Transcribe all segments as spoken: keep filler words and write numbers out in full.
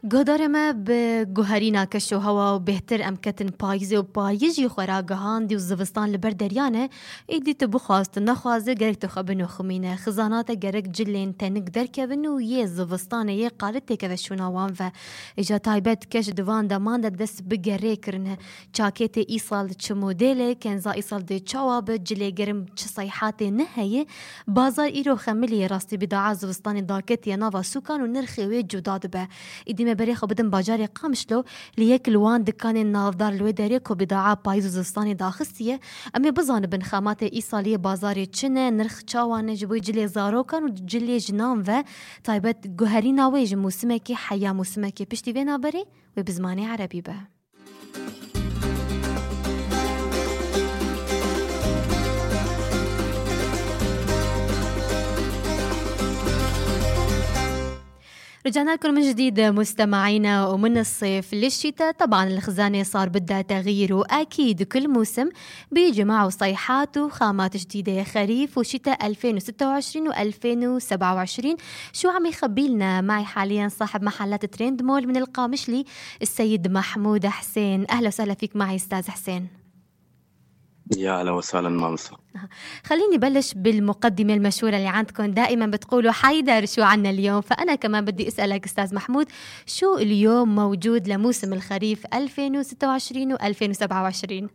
گۆدارێمە بە گوهرîna keş û hewa û bêhtir em ketin payîzê û payîz jî xwe gihandî û zivistan li ber deryan e, êdî tu bixwazî nexwazî gerek tu xwe binoximîne. Xizana te gerek cilên tenik derkevin û yê zivistanê yê qalit têkeve şûna wan ve. Îja taybet keş di van deman de dest bi gerê kirine. Çakêtê îsal çi modêlê, kenza îsal dê çawa bi, cilê gerim çi sayhatê ne heye. Bazar îro xemiliyê rastî bîdaa zivistanê daketiye nava sûkan û nirxê wê cuda dibe. Îdî me berê xwe bidim bajarê Qamişlo li yek li wan dikanên navdar li wê derê ku bîdaa payîz û zivistanê daxistiye. Em ê bizanibin xematê îsaliyê bazarê çi ne, nirx çawan e ji bo cilê zarokan û cilê jinan ve taybet guherîna wê ji mûsimekê heya mûsimekê piştî vê naberê wê bi zimanê erebî be. رجعنا لكم من جديد مستمعينا. ومن الصيف للشتاء طبعا الخزانة صار بدها تغيير، وأكيد كل موسم بيجي معه صيحات وخامات جديدة. خريف وشتاء ألفين وستة وعشرين وألفين وسبعة وعشرين شو عم يخبي لنا؟ معي حاليا صاحب محلات ترند مول من القامشلي السيد محمود حسين. أهلا وسهلا فيك معي أستاذ حسين. يا أهلا وسهلا مامسا. خليني بلش بالمقدمة المشهورة اللي عندكم، دائما بتقولوا حيدر شو عنا اليوم، فأنا كمان بدي أسألك أستاذ محمود شو اليوم موجود لموسم الخريف ألفين وستة وعشرين وألفين وسبعة وعشرين؟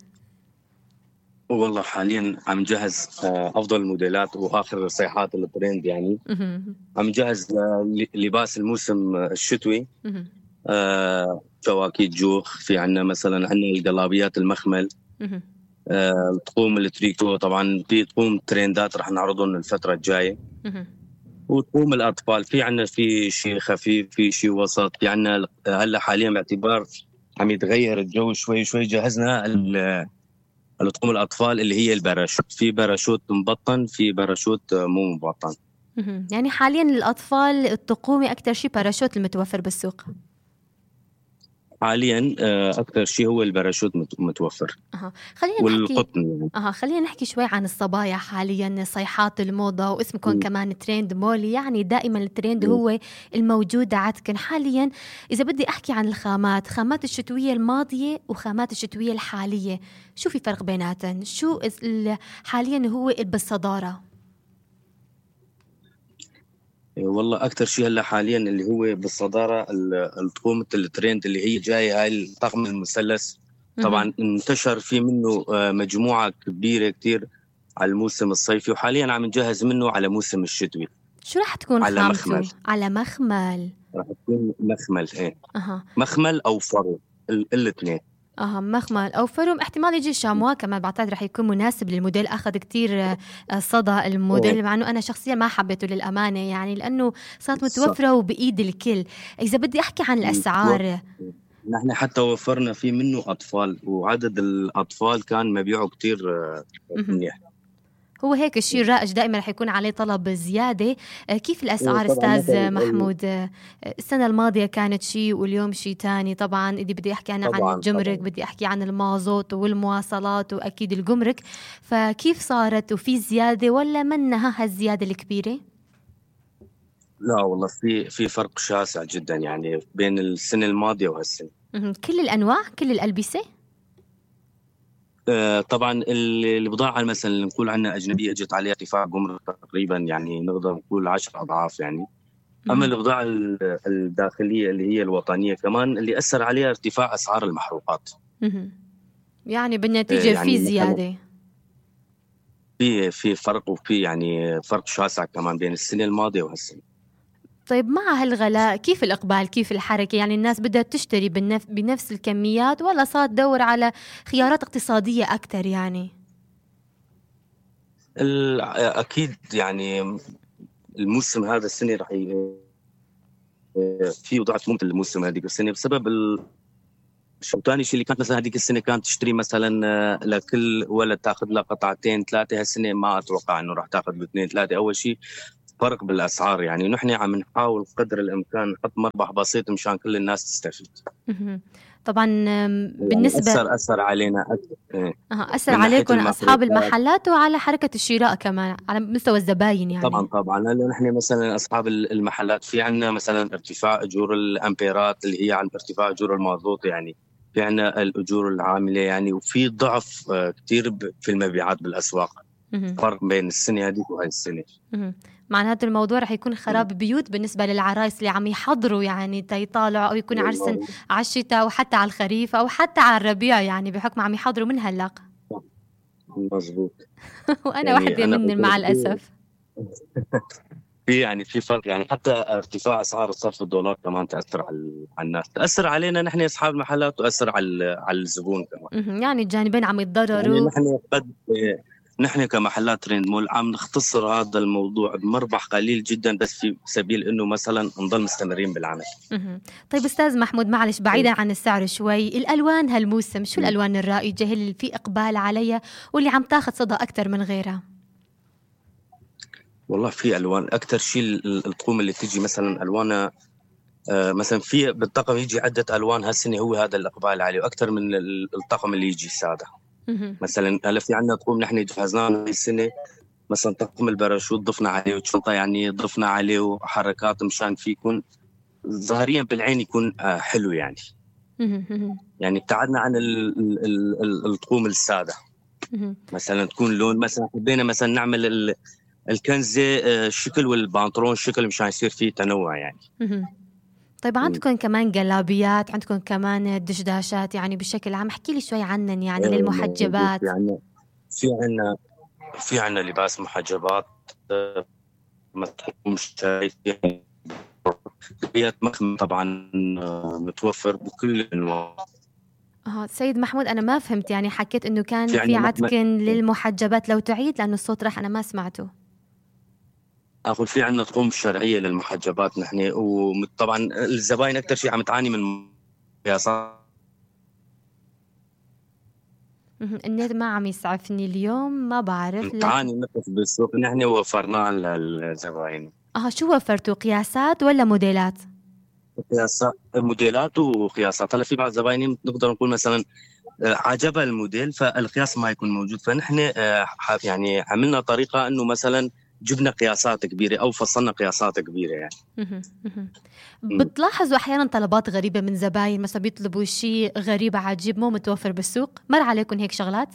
والله حاليا عم نجهز أفضل الموديلات وآخر صيحات الترند، يعني عم نجهز لباس الموسم الشتوي. آه شواكيت جوخ، في عنا مثلا عنا القلابيات المخمل، آه، تقوم التريكو، طبعا في تقوم ترندات رح نعرضهم الفترة الجاية، وتقوم الأطفال في عنا في شيء خفيف في شيء وسط. في عنا هلا حاليا باعتبار عم يتغير الجو شوي شوي جهزنا تقوم الأطفال اللي هي الباراشوت، في باراشوت مبطن في باراشوت مو مبطن. يعني حاليا الأطفال التقومي أكتر شيء باراشوت المتوفر بالسوق حاليا أكثر شيء هو الباراشوت متوفر. أه. خلينا والقطن نحكي يعني. أه. خلينا نحكي شوي عن الصبايا حاليا، صيحات الموضة واسمكم م. كمان ترند مول، يعني دائما الترند م. هو الموجود عندكم حاليا. إذا بدي أحكي عن الخامات، خامات الشتوية الماضية وخامات الشتوية الحالية، شو في فرق بيناتن؟ شو حاليا هو بالصدارة؟ والله أكثر شيء هلا حاليا اللي هو بالصدارة التقومة الترند اللي هي جاية، هاي الطقم المثلث. طبعا انتشر في منه مجموعة كبيرة كتير على الموسم الصيفي، وحاليا عم نجهز منه على موسم الشتوي. شو رح تكون على خامته؟ مخمل. على مخمل رح تكون مخمل ايه أه. مخمل أو فرو الاثنين. اه مخمل او فروم، احتمال يجي شاموا كمان بعتقد رح يكون مناسب للموديل. اخذ كتير صدى الموديل، مع انه انا شخصيا ما حبيته للامانه، يعني لانه صارت متوفره وبايد الكل. اذا بدي احكي عن الاسعار، نحن حتى وفرنا فيه منه اطفال، وعدد الاطفال كان مبيعه كتير منيح. هو هيك الشيء الرائج دائما رح يكون عليه طلب زيادة. كيف الأسعار أستاذ محمود؟ السنة الماضية كانت شيء واليوم شيء تاني. طبعا إذا بدي أحكي أنا عن الجمرك طبعاً. بدي أحكي عن المازوت والمواصلات وأكيد الجمرك، فكيف صارت؟ وفي زيادة ولا منها هالزيادة الكبيرة؟ لا والله في في فرق شاسع جدا يعني بين السنة الماضية وهالسنة. كل الأنواع، كل الألبسة؟ آه طبعا البضاعة مثلا اللي نقول عنها أجنبية اجت عليها ارتفاع جمرك تقريبا، يعني نقدر نقول عشر أضعاف يعني. أما البضاعة الداخلية اللي هي الوطنية كمان اللي أثر عليها ارتفاع أسعار المحروقات. يعني بالنتيجة آه يعني في زيادة، في في فرق، وفي يعني فرق شاسع كمان بين السنة الماضية وهالسنة. طيب مع هالغلاء كيف الإقبال، كيف الحركة؟ يعني الناس بدها تشتري بنف... بنفس الكميات ولا صار تدور على خيارات اقتصادية أكتر؟ يعني أكيد يعني الموسم هذا السنة رح ي... في وضعت ممتع الموسم هذيك السنة بسبب ال... شو تاني شيء اللي كانت مثلا هذيك السنة كانت تشتري مثلا لكل ولد تاخذ له قطعتين ثلاثة، هالسنة ما أتوقع إنه راح تاخذ له اثنين ثلاثة. أول شيء فرق بالاسعار يعني. نحن عم نحاول قدر الامكان نحط مربح بسيط مشان كل الناس تستفيد. مهم. طبعا آم، يعني بالنسبة اثر اثر علينا أكثر إيه. أها، أثر من ناحيه عليكم أصحاب المصروفات المحلات وعلى حركة الشراء كمان على مستوى الزباين طبعا يعني. طبعا. هلا نحن مثلا اصحاب المحلات في عندنا مثلا ارتفاع اجور الامبيرات اللي هي عن ارتفاع اجور المازوت يعني. في عندنا الاجور العامله يعني، وفي ضعف آه، كثير ب- في المبيعات بالاسواق. مهم. فرق بين السنه هذيك وهي السنه. مهم. معناته الموضوع رح يكون خراب بيوت بالنسبة للعرايس اللي عم يحضروا يعني تيطالعوا أو يكون عرسن والله على الشتاء أو حتى على الخريف أو حتى على الربيع يعني بحكم عم يحضروا من هلأ. مزبوط. وأنا يعني واحدة انا من مع بقول في الأسف. في يعني في فرق يعني. حتى ارتفاع اسعار صرف الدولار كمان تاثر على على الناس، تاثر علينا نحن اصحاب المحلات، وتاثر على على الزبون كمان. مهم. يعني الجانبين عم يعني يتضرروا. نحن قد نحن كمحلات ترند مول عم نختصر هذا الموضوع بمربح قليل جدا، بس في سبيل انه مثلا نضل مستمرين بالعمل. مهم. طيب أستاذ محمود، معلش بعيدا عن السعر شوي، الألوان هالموسم شو م. الألوان الرائجة اللي في إقبال عليها واللي عم تاخد صدى أكتر من غيرها؟ والله في الوان اكثر شيء. ال- الطقوم اللي تيجي مثلا الوانها آه، مثلا في بالطقم يجي عده الوان هالسنه، هو هذا الاقبال عليه واكثر من ال- الطقم اللي يجي ساده. مهم. مثلا هلا في عندنا طقوم نحن جهزناها هاي السنه، مثلا طقم الباراشوت ضفنا عليه، وشنطه يعني ضفنا عليه وحركات مشان في يكون ظاهريا بالعين يكون آه، حلو يعني. مهم. مهم. يعني ابتعدنا عن ال- ال- ال- ال- الطقوم الساده. مهم. مثلا تكون لون، مثلا حبينا مثلا نعمل ال- الكنزه آه، شكل، والبنطلون شكل مشان يصير فيه تنوع يعني. مهم. طيب م. عندكم كمان جلابيات، عندكم كمان دشداشات يعني بشكل عام، احكي لي شوي عنن يعني آه، موجود. في للمحجبات. عندنا في عندنا في عندنا لباس محجبات آه، مطقوم شايف يعني. جلابيات مخمة طبعا آه، متوفر بكل الانواع. اه سيد محمود، أنا ما فهمت يعني، حكيت إنه كان في في عندنا م- عتكن م- للمحجبات، لو تعيد لأنه الصوت راح أنا ما سمعته. اقول في عندنا طقوم شرعيه للمحجبات نحن، وطبعا الزباين اكثر شيء عم تعاني من قياسات. مهم. النت ما عم يسعفني اليوم، ما بعرف لكن تعاني نقص بالسوق، نحن وفرناه للزباين. اه شو وفرتوا، قياسات ولا موديلات؟ قياسات، موديلات وقياسات. هلا في بعض الزباين نقدر نقول مثلا آه، عجبها الموديل فالقياس ما يكون موجود، فنحن آه، ح- يعني عملنا طريقه انه مثلا جبنا قياسات كبيره او فصلنا قياسات كبيره يعني. مهم. مهم. م. بتلاحظوا أحيانا طلبات غريبة من زباين، مثلا بيطلبوا شيء غريب عجيب مو متوفر بالسوق، مر عليكم هيك شغلات؟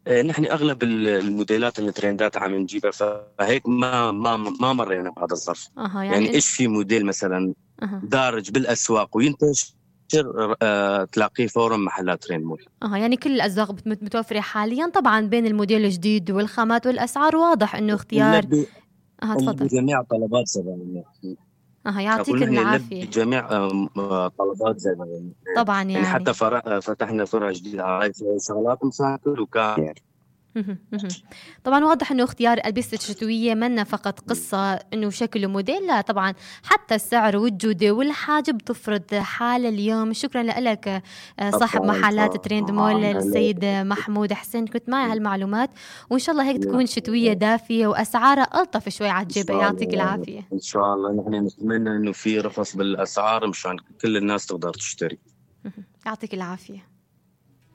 آه، نحن اغلب ال- الموديلات الترندات عم نجيبها، فهيك ما ما ما مرينا بهذا الظرف. اها يعني يعني إن... ايش في موديل مثلا اها دارج بالاسواق وينتشر آه، تلاقيه فورا محلات ترند مول. اها يعني كل الأذواق بت- متوفرة حاليا، طبعا بين الموديل الجديد والخامات والأسعار واضح إنه اختيار. نلبي اها تفضل. بجميع طلبات زبائننا. اها أقول يعطيك نحن نلبي العافية. جميع آم، آه، طلبات زبائننا. طبعا يعني حتى يعني فرع فتحنا فرع جديد على هاي شغلات مساكل وكان يعني. مهم. مهم. طبعا واضح انه اختيار الألبسة الشتوية منا فقط قصة انه شكل وموديل، لا طبعا حتى السعر والجودة والحاجة بتفرض حالة اليوم. شكرا لك آه، صاحب طبعا محلات ترند مول طبعا. هلا السيد محمود حسين، كنت معي هالمعلومات، وان شاء الله هيك تكون شتوية دافية واسعارها ألطف شوي على ان الجيبة. شاء يعطيك الله العافية. ان شاء الله نحن نتمنى انه في رخص بالاسعار مشان كل الناس تقدر تشتري. مهم. يعطيك العافية.